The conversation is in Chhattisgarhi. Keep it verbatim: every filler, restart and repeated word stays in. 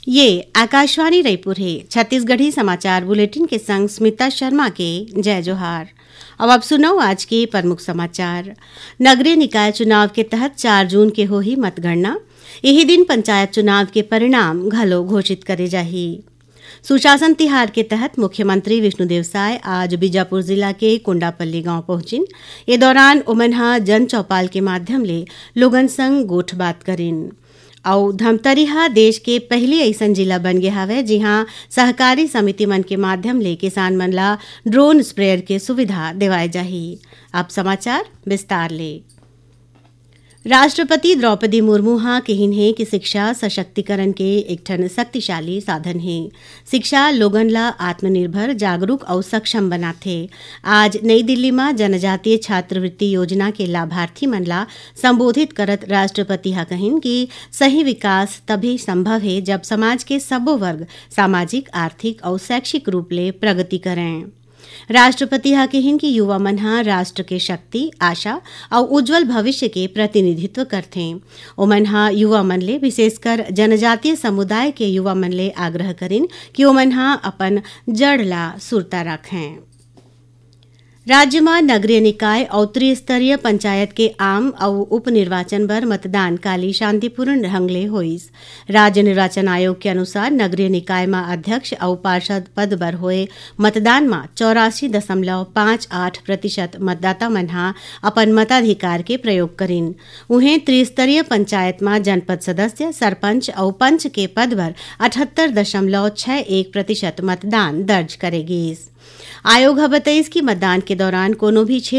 ये आकाशवाणी रायपुर हे। छत्तीसगढ़ी समाचार बुलेटिन के संग स्मिता शर्मा के जय जोहार। अब आप सुनव आज के प्रमुख समाचार। नगरीय निकाय चुनाव के तहत चार जून के होही मतगणना। यही दिन पंचायत चुनाव के परिणाम घलो घोषित करे जाही। सुशासन तिहार के तहत मुख्यमंत्री विष्णुदेव साय आज बीजापुर जिला के कोंडापल्ली गांव पहुंचिन। ए दौरान ओमन ह जन चौपाल के माध्यम ले लोगन संग गोठ बात करिन। अउ धमतरी ह देश के पहिली अइसन जिला बन गे हवय, जिहां सहकारी समिति मन के माध्यम ले किसान मन ला ड्रोन स्प्रेयर के सुविधा देवाय जाही। अब समाचार विस्तार ले। राष्ट्रपति द्रौपदी मुर्मू ह किहिन हे कि शिक्षा सशक्तिकरण के एक ठन शक्तिशाली साधन हे। शिक्षा लोगन ला आत्मनिर्भर, जागरूक अउ सक्षम बनाथे। आज नई दिल्ली म जनजातीय छात्रवृत्ति योजना के लाभार्थी मन ला संबोधित करत राष्ट्रपति ह कहिन कि सही विकास तभी संभव हे, जब समाज के सबो वर्ग सामाजिक, आर्थिक अउ शैक्षिक रूप ले प्रगति करें। राष्ट्रपति ह किहिन कि युवा मन ह राष्ट्र के शक्ति, आशा अउ उज्जवल भविष्य के प्रतिनिधित्व करथें। ओमन ह युवा मन ले, विशेषकर जनजातीय समुदाय के युवा मन ले आग्रह करिन कि ओमन ह अपन जड़ ला सुरता राखें। राज्य म नगरीय निकाय अउ त्रिस्तरीय पंचायत के आम अउ उपनिर्वाचन बर मतदान काली शांतिपूर्ण ढंग ले होइस। राज्य निर्वाचन आयोग के अनुसार, नगरीय निकाय म अध्यक्ष अउ पार्षद पद बर होए मतदान म चौरासी दशमलव पाँच आठ प्रतिशत मतदाता मन ह अपन मताधिकार के प्रयोग करिन। उहें, त्रिस्तरीय पंचायत म जनपद सदस्य, सरपंच अउ पंच के पद बर अठहत्तर दशमलव छह एक प्रतिशत मतदान दर्ज करे गीस। आयोग ह बतइस कि मतदान के दौरान कोनो भी क्षेत्र